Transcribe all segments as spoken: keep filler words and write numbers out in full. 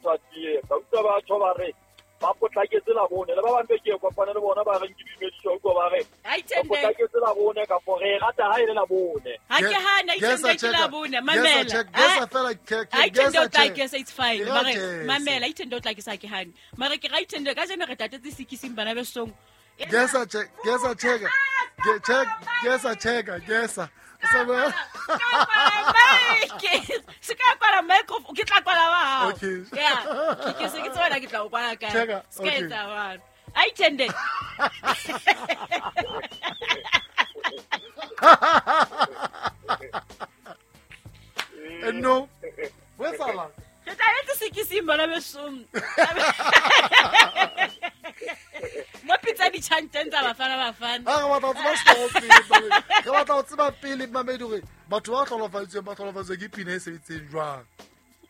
motho a tie ka utlwa ba tjho ba re ba potlaketse la bone le ba bang be ke kopana le bona ba reng ke dumediswa utlwa ba re ba potlaketse la bone ka for re rata ha ile la bone ha ke hana ithende ke la bone mamela gesa fela ke gesa gesa it's fine mare mamela ithende o tla ke sa ke hane mare ke ra ithende ka jeno re tatetse sikising bana be song gesa check gesa check check gesa check gesa se ka kwala microphone ke tla kwala wa hao yeah ke se ke tsona ke tla o kwala kae se ka etsa bana a ithende no wetsala re tla etsa sekising bana be song mo pitsa ditjhanteng tsa bafana bafana a re batla ho tseba score pele re batla ho tseba pele mamedi hore batho ba hlolofaditsweng ba hlolofaditswe ke pina e sebetseng jwang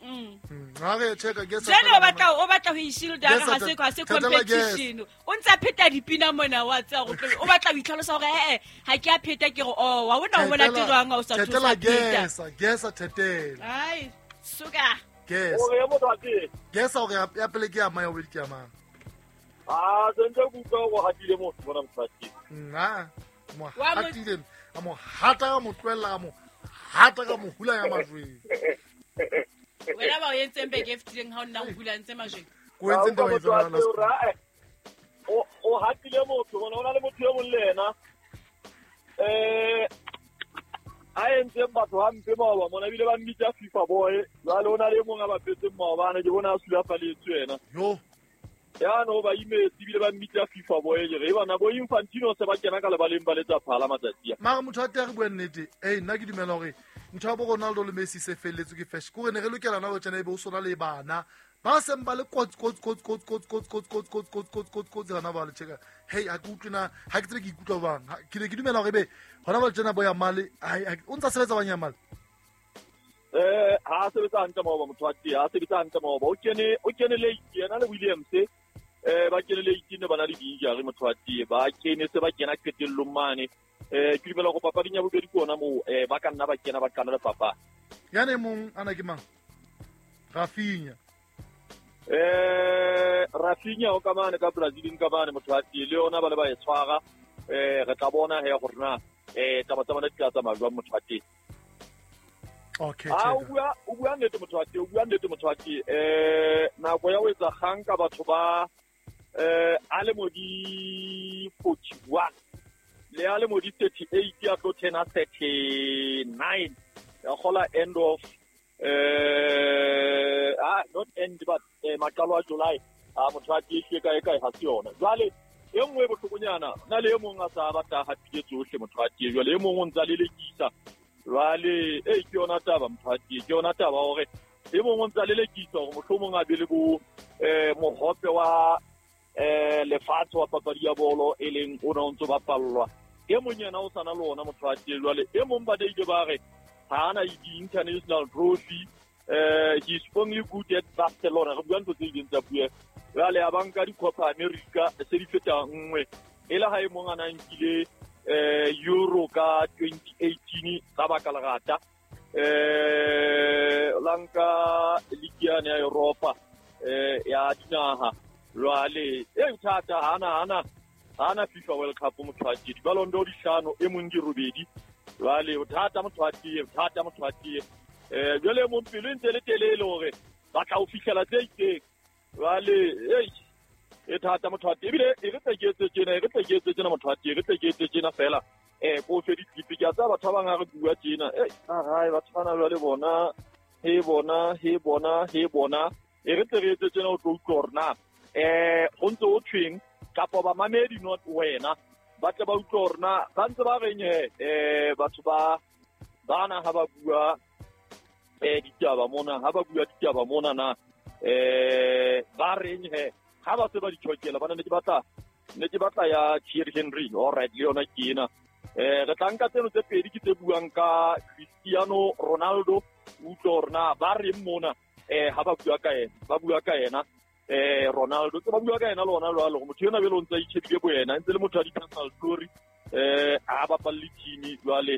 mm ha re checka ke sa jeno o batla o batla ho ishield ha se ha se competition o ntsa pheta dipina mona wa tsa go o batla ho itlhalosa hore eh ha ke a pheta ke re oh wa bona o mona tirwang ha o sa thusa pheta gesa gesa thetela ai suka gesa o re motho a teng gesa hore ya pele ke ya mang ya bobedi ke ya mang ah sentse kuka go hatile motho bona mosadi nna mo hatile a mo hata ka mo tlohella ka mo hata ka mo hula ya majweng wena ba o entseng beke e fetileng ha o nna o hula ntse majweng ko entseng taba e o o hatile motho bona o na le motho e mong le yena eh a entseng batho hampe maoba mona ebile ba mmitsa FIFA boy jwale o na le e mong a bapetseng maobane ke bona a sulafaletswe yena yo ya no ba imetse ebile ba mmitsa FIFA boy ke re bana bo Infantino se ba kena ka lebaleng ba letsa phala matsatsi a mara motho a teng re bua nnete eh nna ke dumela hore ntho ya bo Ronaldo le Messi se felletswe ke fashion ko re ne re lokela na ho tjena ebe o sona le bana ba seng ba le kotsi kotsi kotsi kotsi kotsi kotsi kotsi kotsi kotsi kotsi kotsi kotsi kotsi hona ba le cheka hey ha ke utlwe na ha ke tsebe ke ikutlwa bang ke ne ke dumela hore ebe hona ba le tjena bo ya male o ntsa sebetsa bang ya male eh ha sebetsa hantle maoba motho a teng ha sebetsa hantle maoba o kene o kene late yena le Williams eh ba kene late ne bana le di-injury motho a teng ba kene se ba kena qetellong mane eh ke dumela go papading ya bobedi ke ona moo eh ba ka nna ba kena ba qala le papa yane mong ana ke mang Rafinha eh Rafinha o ka mane ka Brazil ka mane motho a teng le yona ba le ba e tshwara eh re tla bona he gore na eh taba tsa bona di tla tsamaya jwang motho a teng okay ah o bua o bua nnete motho a teng o bua nnete motho a teng eh nako ya ho etsa kgang ka batho ba eh a le mo di forty-one le a le mo di thirty-eight ya tlo ten a thirty-nine ya kgola end of eh ah not end but eh, maqalo a July a motho a teng ka e kae ha se yona jwale e nngwe e bohlokonyana na le e mong a sa batla hapile tsohle motho a teng jwale e mong o ntsa lelekisa jwale e ke yona taba motho a teng ke yona taba hore e mong o ntsa lelekisa hore mohlomong a be le bo eh mohope wa eh lefatshe wa papadi ya bolo e leng o na o ntso bapallwa e mong yena o sana le ona motho a teng jwale e mong ba deile ba re ha ana di-international trophy eh he's only good at Barcelona re bua ntho tse ileng tsa bua jwale a ba nka di-Copa America se di feta nngwe e le ha e mong a na nkile eh Euro ka twenty eighteen ka baka lerata eh la nka league yane ya Europa eh ya dinaha jwale e thata hana hana hana FIFA World Cup motho a teng Ballon d'Or di hlano e mong di robedi jwale o thata motho a teng thata motho a teng eh jwale mong pelo e ntse le telele hore ba tla o fihlela tse itseng jwale ei e thata motho a teng ebile e re tle ke etse tjena e re tle ke etse tjena motho a teng e re tle ke etse tjena fela eh ko fe di-clip ke a tsaya batho ba bang ha re bua tjena ei a batho bana jwale bona he bona he bona he bona e re tle re etse tjena o tlo utlwa hore na eh ho ntse ho thweng kapa bamamedi not wena ba tle ba utlwe hore na ba ntse ba reng he eh batho ba bana ha ba bua eh ditaba mona ha ba bua ditaba mona na eh ba reng he ha ba se ba di tjhokela bana ne ke batla ne ke batla ya Thierry Henry all right le yona ke ena eh re tla nka tseno tse pedi ke tse buang ka Cristiano Ronaldo utlwe hore na ba reng mona eh ha ba bua ka yena ba bua ka yena eh Ronaldo tse ba bua ka yena le ona jwalo motho yena bele o ntse a itjhebile bo yena ntse le motho a di-personal story eh a bapalle team jwale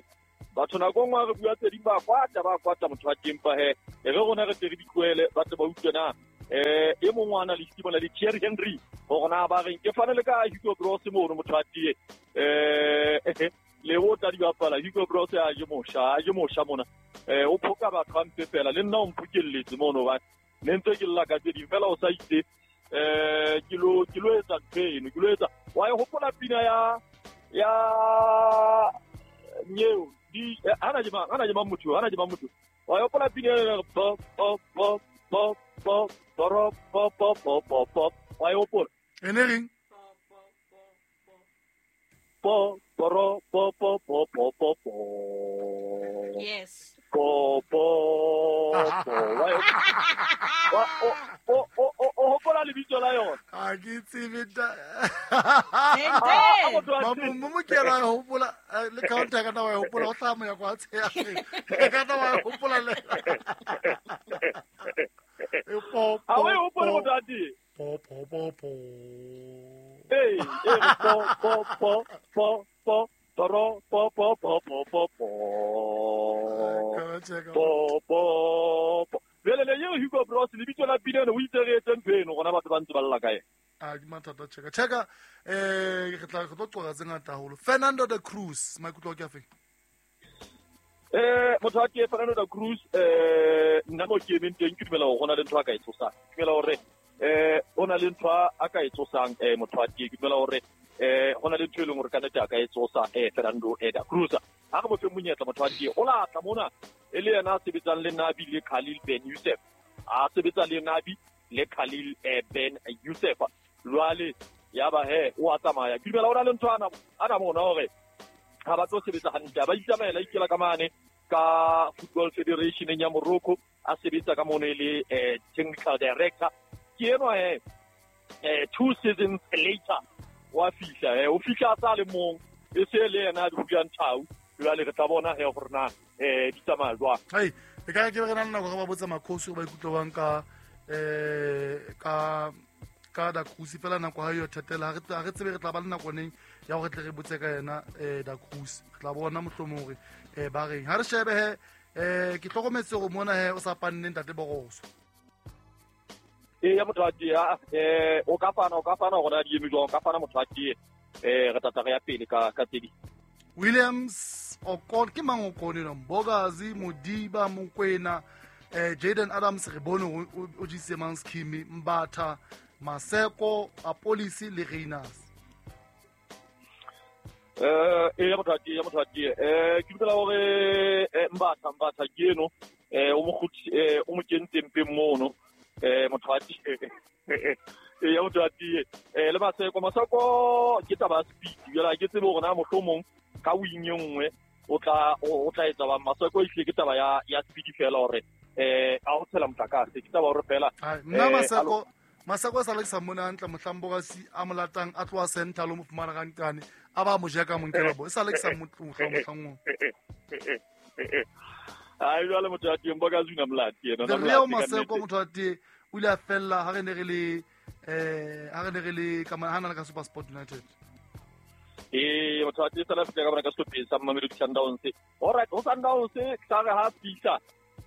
batho nako nngwe re bua tse ding ba kwata ba kwata motho wa teng pa he e re rona re tle re di tlohele ba tle ba utlwe na eh e mong wa analyst bona le Thierry Henry hore na ba reng ke fane le ka Hugo Broos mono motho a tie eh le o tla di bapala Hugo Broos a je mosha a je mosha mona eh o phoka batho hampe fela le nna o mphokelletse mono ba ne ntse ke lla ka tse ding fela o sa itse eh ke lo ke lo etsa ntho ke lo etsa wa e hopola pina ya ya nyeo di ana je ma ana je ma motho ana je ma motho wa e hopola pina ya po po po po po po po po po po po wa e hopola ene reng po po po po po po po po yes po po po wa o o o o o hopola lebitso la yona ha ke tsebe ta mo mo ke ra hopola le counter ka na wa hopola o tla mo ya kwa tsheya ka na wa hopola le e po a we hopola go tati po po po po eh eh po po po po po po po po po po po po po po po bjale le yeo Hugo Broos lebitso la pina o itse re etse ntho eno gona batho ba ntse ba lla ka ena a ke mathata cheka cheka eh re tla re tlo qoqa tse ngata haholo. Fernando da Cruz maikutlo ke afe eh motho wa ke Fernando da Cruz eh nna mo ke emeng teng ke dumela hore hona le ntho a ka e tsosang ke dumela hore eh hona le ntho a ka e tsosang eh motho wa ke ke dumela hore eh hona le ntho e leng hore ka nnete a ka e tsosa eh Fernando da Cruz ha re mo fe monyetla motho wa ke o latla mona e le yena a sebetsang le Nabi le Khalil Ben Youssef a sebetsa le Nabi le Khalil Ben Youssef jwale ya ba he o a tsamaya ke dumela hore le ntho ana ana mona hore ha ba tlo sebetsa hantle ba itsamaela ikela ka mane ka Football Federation ya Morocco a sebetsa ka mono le eh, technical director ke enwa he eh, two seasons later wa fihla eh, o fihla a sa le mong e se le yena a di thau jwale re tla bona he gore na eh di tsamaya jwang. Hai e ka ke re na le nako re ba botsa makhosi ba ikutlwa bang ka eh ka ka da Cruz fela nako ha yo thetela ha re tsebe re tla ba le nako neng ya hore tle re botse ka yena eh da Cruz re tla bona mohlomong hore eh ba reng ha re shebe he eh ke hlokometse hore mona he o sa panneng ntate Boroso e ya motho a tie eh o ka fana o ka fana hore a di eme jwang o ka fana motho a tie eh re tla re ya pele ka ka tse di Williams Okon ke mang Okon eno Mbokazi Modiba Mokwena eh Jaden Adams re bone o jise mang scheme Mbatha Maseko Apolisi le Reinas eh e ya motho a tie ya motho a tie eh ke dumela hore Mbatha Mbatha ke eno eh o mo kgutsi eh o mo kentse mpeng mono eh motho a tie e ya motho a tie eh le Maseko Maseko ke taba speed jwale ke tsebe hore na mohlomong ka wing e nngwe o tla o tla etsa ba Maseko e ke taba ya ya speed fela hore eh a ho tshela motlakase ke taba hore fela nna Maseko Maseko sa le sa mona hantle mohlamboka si a molatang a tloha center lo mo fumana ka nkane a ba mo jeka mo nkela bo e sa le sa motlohla mohlang ai jwale motho a teng boka zuna molati yena na molati Maseko motho a teng o ile a fella ha re ne re le eh ha re ne re le ka hana ka SuperSport United eh motho a teng sala fitla ka bona ka sehlopheng sa Mamelodi Sundowns all right ho Sundowns tla re ha fihla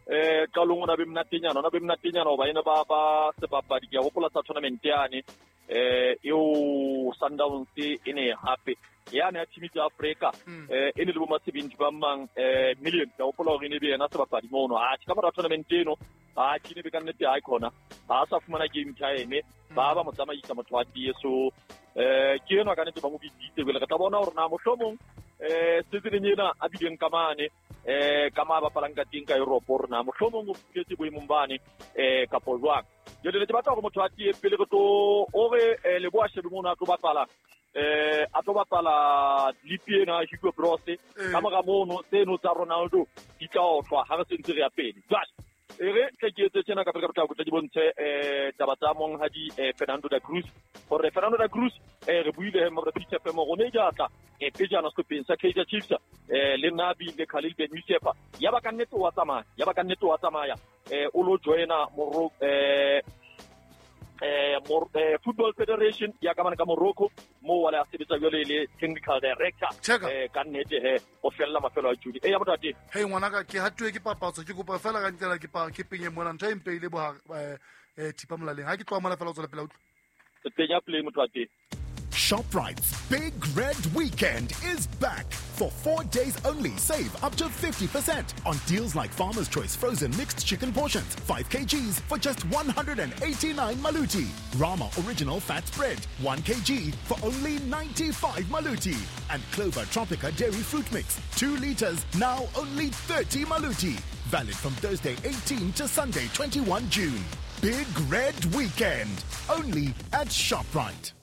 eh qalong ona be mnatenyana ona be mnatenyana hoba ene ba ba sebapadi ke a hopola sa tournament yane eh eo Sundowns e ne hape yane ya team tsa Africa eh ene le bo masebenti ba mang eh million ke hopola hore ene be yena sebapadi mono a ka mora tournament eno a ke ne be ka nnete ha khona ha sa fumana game time ba ba mo tsamaisa motho wa tie so eh ke eno ka nnete ba mo bitsitse bele re tla bona hore na mohlomong eh season ena a bileng ka mane eh ka ma bapalang ka teng ka Europe hore na mohlomong o fihletse boemong bane eh kapo jwang jwale ke batla hore motho a tie pele re tlo ore le bo a shebe mono a tlo bapala eh a tlo bapala lipi ena Hugo Broos ka mora mono tseno tsa Ronaldo di tla otlwa ha re sentse re ya pele jwale e re tle ke etse tjena ka pele ka potlako tle ke bontshe eh taba tsa monghadi Fernando da Cruz hore Fernando da Cruz eh re buile he mora Peter F M rone ja tla e pejana sehlopheng sa Kaizer Chiefs eh le Nabi le Khalil Ben Youssef ya ba ka nnete wa tsamaya ya ba ka nnete wa tsamaya eh o lo joina Morocco eh eh Football Federation ya ka mane ka Morocco mo wa le a sebetsa jwale le technical director eh ka nnete he o fella mafelo a June e ya motho ate hey ngwana ka ke hatuwe ke papatso ke kopa fela ka ntela ke pa ke penye mona ntho e mpeile bo eh eh thipa molaleng ha ke tloha mona fela o tswela pele utlwa tenya play motho wa teng. ShopRite's Big Red Weekend is back. For four days only, save up to fifty percent on deals like Farmer's Choice frozen mixed chicken portions, five kilograms for just one hundred eighty-nine maluti. Rama Original Fat Spread, one kilogram for only ninety-five maluti. And Clover Tropica Dairy Fruit Mix, two liters, now only thirty maluti. Valid from Thursday eighteenth to Sunday twenty-first June. Big Red Weekend, only at ShopRite.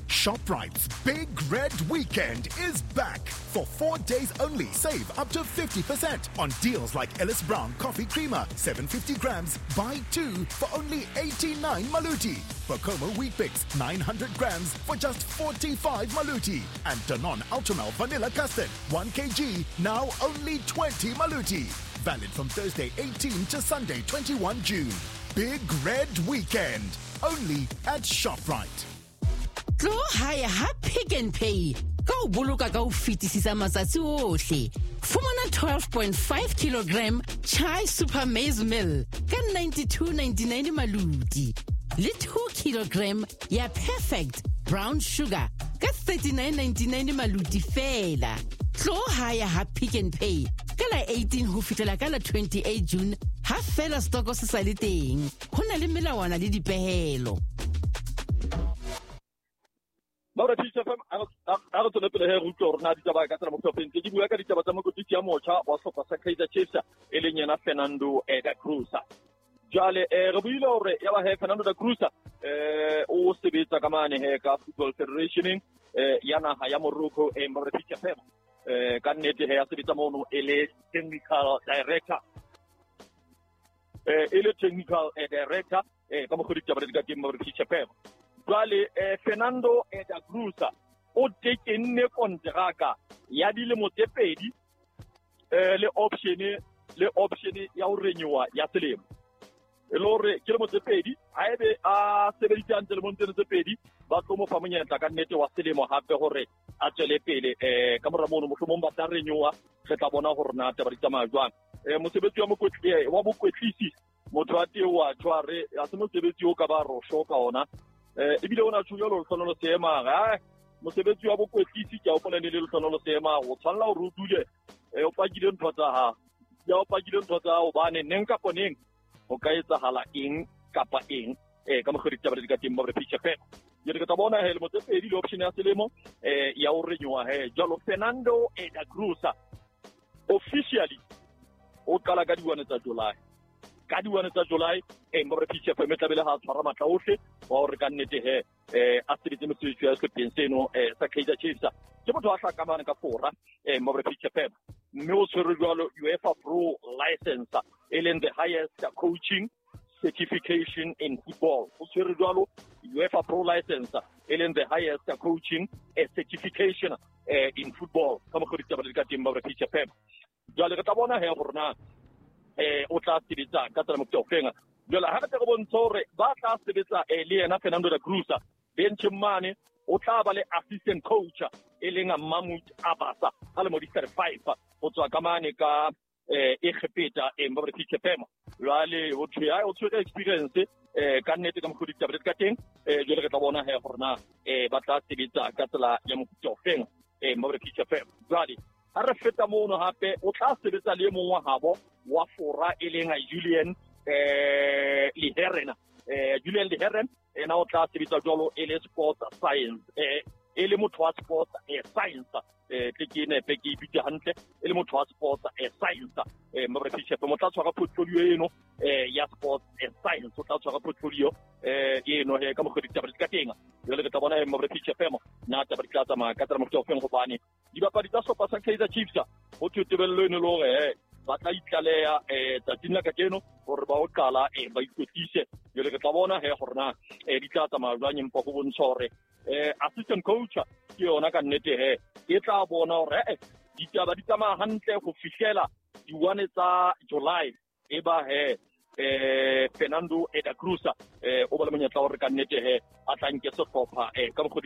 ShopRite's Big Red Weekend is back. For four days only, save up to fifty percent on deals like Ellis Brown Coffee Creamer, seven hundred fifty grams, buy two for only eighty-nine maluti. Bokomo Wheat Bix, nine hundred grams for just forty-five maluti. And Danone Ultramel Vanilla Custard, one kilogram, now only twenty maluti. Valid from Thursday eighteenth to Sunday twenty-first June. Big Red Weekend, only at ShopRite. Tlo hae ha Pick n Pay ka o boloka ka ho fetisisa matsatsi ohle. Fumana twelve point five kilogram Chai Super Maize Meal ka ninety-two ninety-nine maluti. Le two kilogram ya Perfect Brown Sugar ka thirty-nine ninety-nine maluti fela. Tlo hae ha Pick n Pay ka la eighteen ho fihlela ka la twenty-eight June ha fela stoko se sa le teng. Ho na le melawana le dipehelo. Maura T F M a re tswele pele he re utlwe hore na ditaba ka tsela mohlopeng tse ke bua ka ditaba tsa mokwetlisi ya motjha wa sehlopha sa Kaizer Chiefs e leng yena Fernando da Cruz. Jwale eh re buile hore ya ba he Fernando da Cruz eh o sebetsa ka mane he ka Football Federation eh ya naha ya Morocco e Maura T F M eh ka nnete he ya sebetsa mono e le technical director eh e le technical director eh ka mokgwa ditaba di ka teng Maura T F M. Jwale eh, Fernando da Cruz o tekenne kontraka ya dilemo tse pedi eh, le option le option ya ho renewa ya selemo. E le hore ke lemo tse pedi haebe a sebeditse hantle lemong tseno tse pedi ba tlo mo fa monyetla ka nnete wa selemo hape hore a tswele pele eh, ka mora mono mohlomong ba tla renewa re tla bona hore na taba di tsamaya jwang. Eh, mosebetsi wa mokwetlisi wa bokwetlisi motho wa teng wa tshware ha se mosebetsi o ka ba rosho ka ona. Eh ebile ona tjho jalo Lehlohonolo Seema ha mosebetsi wa bokwetlisi ke a hopola ne le Lehlohonolo Seema o tshwanela hore o dule eh o pakile ntho tsa hao ya o pakile ntho tsa hao hobane neng kapa neng ho ka etsahala eng kapa eng eh ka mokgwa ditaba di ka teng ba re P F M jwale ke tla bona he lemo tse pedi le option ya selemo eh ya ho renewa he jwalo Fernando da Cruz officially o qala ka diwane tsa July ka diwane tsa July eh mba re P F M tla bele ha tshwara matla ohle wa hore ka nnete he eh a sebetse mosebetsi wa sehlopheng seno eh sa Kaizer Chiefs ke motho a hlakamane ka fora eh mba re P F M mme o tshwere jwalo UEFA Pro License e leng the highest coaching certification in football o tshwere jwalo UEFA Pro License e leng the highest coaching certification eh in football ka mokgwa ditaba di ka teng mba re P F M jwale re tla bona he hore na eh o tla sebetsa ka tsela mofuta ofeng. Jwale ha re tle re bontshe hore ba tla sebetsa eh le yena Fernando da Cruz bencheng mane o tla ba le assistant coach e leng Mahmoud Abasa a le mo di thirty-five ho tswa ka mane ka eh Egepeta e mba re P F M jwale o thwe o tshwere experience eh ka nnete ka mokgwa ditaba di ka teng eh jwale re tla bona he hore na eh ba tla sebetsa ka tsela ya mofuta ofeng eh mba re P F M jwale ha re feta mono hape o tla sebetsa le mong wa habo wa fora e leng Julien eh Leheren eh Julien Leheren ena o tla sebetsa jwalo e le sports science eh e le motho wa sports eh science eh tle ke nepe ke ipitse hantle e le motho wa sports eh science eh mbre P F M o tla tshwara portfolio eno eh ya sports eh science o tla tshwara portfolio eh eno he ka mokgwa ditaba di ka teng jwale re tla bona mbre P F M na taba di tla tsamaya ka tsela mofuta ofeng hobane dibapadi tsa sehlopha sa Kaizer Chiefs ho thwe tebello eno le hore eh ba tla itlaleha eh tsatsing la kajeno hore ba o qala eh ba ikwetlise jwale re tla bona he hore na eh di tla tsamaya jwang empa ho bontsha hore eh assistant coach ke yona ka nnete he e tla bona hore eh ditaba di tsamaya hantle ho fihlela diwane tsa July e ba he eh Fernando da Cruz eh o ba le monyetla hore ka nnete he a tla nke sehlopha eh ka mokgwa